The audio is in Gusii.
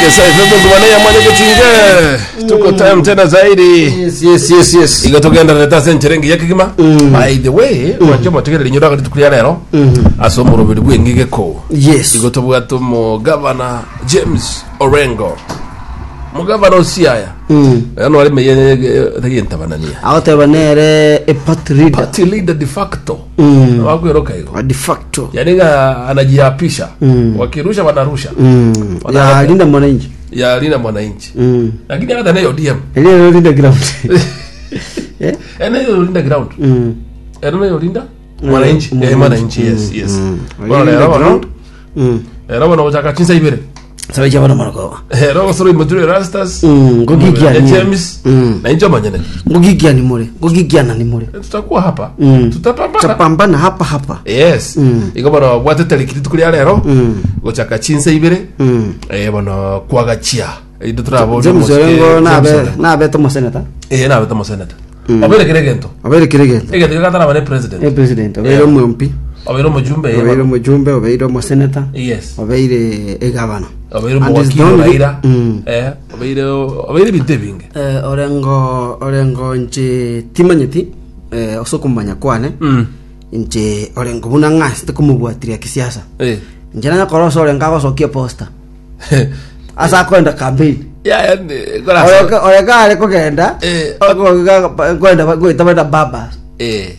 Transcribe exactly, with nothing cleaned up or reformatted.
Gesa F M ngubane ya mwanya getinge. Tuko time tena zaidi. Yes, yes, yes, yes. Igo togendererete ase enchera engiya kegima. By the way, mwanche motegereri nyora rituko ria rero ase omoroberi bw'engigeko. Yes. Igo tobwate omogavana James Orengo. Mugavana Osiaya. Mm. Ano ari meye tagientabanania. Agoteba nere a party leader. Party leader de facto. Mm. Wakweroka igo. A de facto. Yani nga anajiapisha. Mm. Wakirusha wanarusha. Mm. Wana- Ya Linda Mwananchi. Ya Linda Mwananchi. Mm. Lakini hata nayo O D M. Ile Linda ground. Eh? Ene Linda ground. Mm. Ene nayo Linda Mwananchi. Eh, Mwananchi, yes, yes. Mm. Bono Linda rero bono. ground. Mm. Rero bono gochaka chinsa ibere. Sabe chabana marako. Rero gosoro imoturi Rastas. Mm, ngogikia ni. James. Mm. Na injo manyene. Ngogikia ni mure. Ngogikiana ni mure. Tutakuwa hapa. Mm. Tutapambana. Tutapambana hapa hapa. Yes. Mm. Igo bono bwate tariki rituko ria rero. Mm. Gochaka chinsa ibere. Mm. Eh, bono kwagachia. Ido turabo. James Orengo nabe nabe tomo senator. Eh, nabe tomo senator. Obere kere gento. Obere kire gento. Egento gatara bane president. Eh, president, obeire Yeah. omu M P, Obeire omojumbe. obeire omojumbe, obeire omosenator, Yes. obeire egavana. Obeire And is omowakili the only- Raila. Mm. Eh, obeire obeire ebinto ebinge. Eh, Orengo Orengo nche timanyeti, eh, ase okomanya kwane, Mm. nche Orengo buna ng'asete komobwatiria kisiasa, Eh. nche nanyakora ase Orengo agosokia poster ase akoenda campaign. Ya ya kora. Orengo Orengo are kogenda Eh. koenda goita benda babas. Eh.